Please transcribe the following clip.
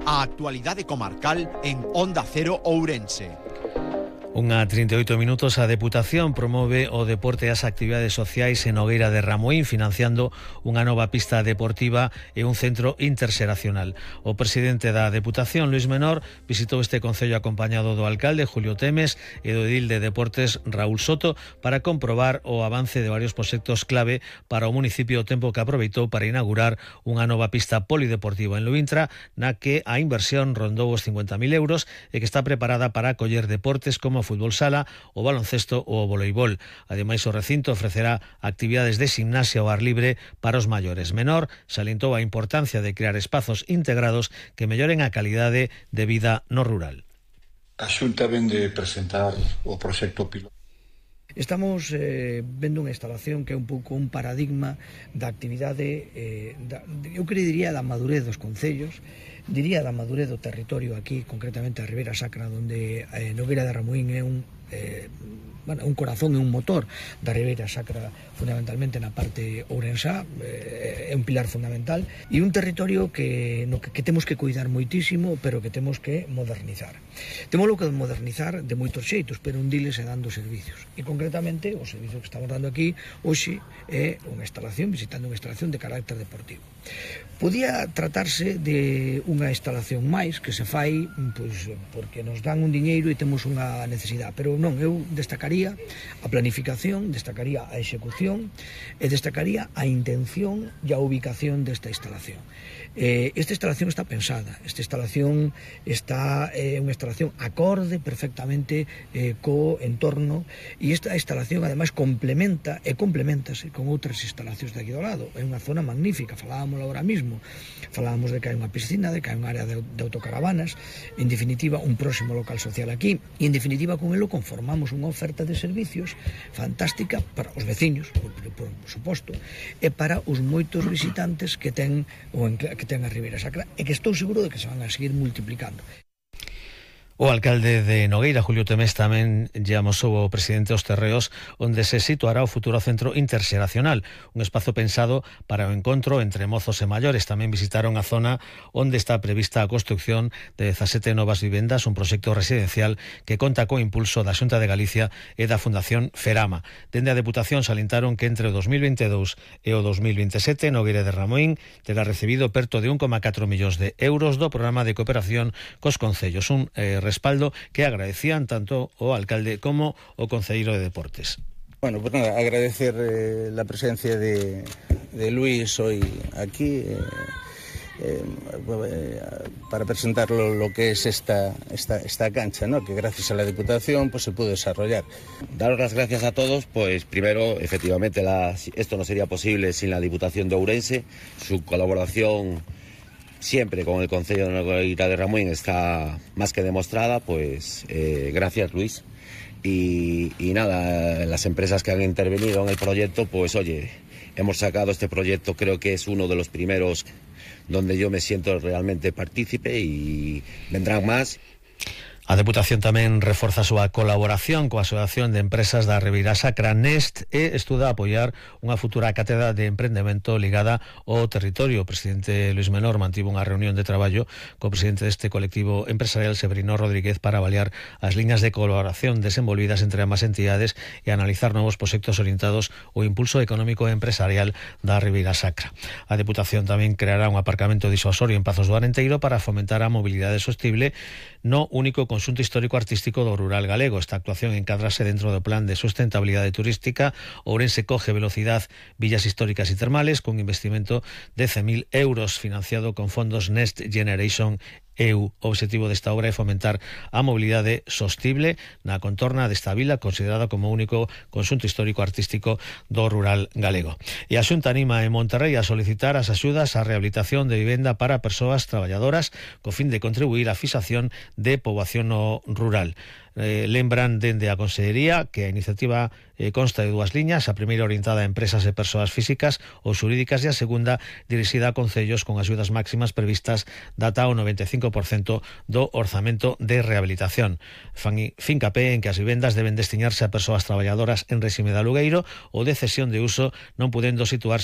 A actualidade comarcal en Onda Cero Ourense. Unha 38 minutos, a Deputación promove o deporte e as actividades sociais en Nogueira de Ramuín, financiando unha nova pista deportiva e un centro interxeracional. O presidente da Deputación, Luís Menor, visitou este concello acompañado do alcalde, Julio Temes, e do edil de Deportes, Raúl Soto, para comprobar o avance de varios proxectos clave para o municipio, o tempo que aproveitou para inaugurar unha nova pista polideportiva en Luintra, na que a inversión rondou os 50.000 euros e que está preparada para acoller deportes como o fútbol sala, o baloncesto ou o voleibol. Ademais, o recinto ofrecerá actividades de gimnasia ao ar libre para os maiores. Menor salientou a importancia de crear espazos integrados que melloren a calidade de vida no rural. A Xunta ven de presentar o proxecto piloto. Estamos vendo unha instalación que é un pouco un paradigma da actividade, eu diría da madurez dos concellos, diría da madurez do territorio aquí, concretamente a Ribeira Sacra, onde Nogueira de Ramuín é un corazón e un motor da Ribeira Sacra, fundamentalmente na parte ourensá, é un pilar fundamental, e un territorio que temos que cuidar moitísimo, pero que temos que modernizar. Temoslo que modernizar de moitos xeitos, pero un diles é dando servicios. E concretamente, o servicio que estamos dando aquí hoxe é visitando unha instalación de carácter deportivo. Podía tratarse de unha instalación máis que se fai porque nos dan un diñeiro e temos unha necesidade, pero non, eu destacaría a planificación, destacaría a execución e destacaría a intención e a ubicación desta instalación. Esta instalación está pensada, esta instalación é unha instalación acorde perfectamente co entorno, e esta instalación ademais complementase con outras instalacións de aquí do lado. É unha zona magnífica, falábamos agora mismo, falábamos de que hai unha piscina, de que hai un área de autocaravanas, en definitiva un próximo local social aquí, e en definitiva con elo conformamos unha oferta de servicios fantástica para os veciños, por suposto, e para os moitos visitantes que ten a Ribeira Sacra, e que estou seguro de que se van a seguir multiplicando. O alcalde de Nogueira, Julio Temes, tamén lle amosou ao presidente os terreos onde se situará o futuro centro interxeracional, un espazo pensado para o encontro entre mozos e maiores. Tamén visitaron a zona onde está prevista a construcción de 17 novas vivendas, un proxecto residencial que conta co impulso da Xunta de Galicia e da Fundación Ferama. Dende a Deputación salientaron que entre o 2022 e o 2027 Nogueira de Ramuín terá recibido perto de 1,4 millóns de euros do programa de cooperación cos concellos, un respaldo que agradecían tanto o alcalde como o concelleiro de Deportes. Bueno, pues nada, agradecer la presencia de Luis hoy aquí para presentar lo que es esta cancha, ¿no? Que gracias a la Diputación pues se pudo desarrollar. Daros las gracias a todos, pues primero, efectivamente, esto no sería posible sin la Diputación de Ourense, su colaboración siempre con el Concello de Nogueira de Ramuín está más que demostrada, pues gracias Luis. Y nada, las empresas que han intervenido en el proyecto, pues oye, hemos sacado este proyecto, creo que es uno de los primeros donde yo me siento realmente partícipe, y vendrán más. A Deputación tamén reforza a súa colaboración coa Asociación de Empresas da Ribeira Sacra, NEST, e estuda apoiar unha futura cátedra de emprendemento ligada ao territorio. O presidente Luís Menor mantivo unha reunión de traballo co presidente deste colectivo empresarial, Severino Rodríguez, para avaliar as liñas de colaboración desenvolvidas entre ambas entidades e analizar novos proxectos orientados ao impulso económico e empresarial da Ribeira Sacra. A Deputación tamén creará un aparcamento disuasorio en Pazos do Arenteiro para fomentar a mobilidade sostible no único conxunto histórico-artístico do rural galego. Esta actuación encádrase dentro do plan de sustentabilidade turística. Ourense coge velocidade villas históricas e termales cun investimento de 100.000 euros financiado con fondos Next Generation EU. O obxectivo desta obra é fomentar a mobilidade sostible na contorna desta vila, considerada como único conxunto histórico-artístico do rural galego. E a Xunta anima en Monterrey a solicitar as axudas á rehabilitación de vivenda para persoas traballadoras co fin de contribuir á fixación de poboación no rural. Lembran dende a Consellería que a iniciativa consta de dúas liñas, a primeira orientada a empresas e persoas físicas ou xurídicas, e a segunda dirixida a concellos con axudas máximas previstas data ao 95% do orzamento de rehabilitación. Fan fincapé en que as vivendas deben destinarse a persoas traballadoras en réxime de alugueiro ou de cesión de uso, non podendo situarse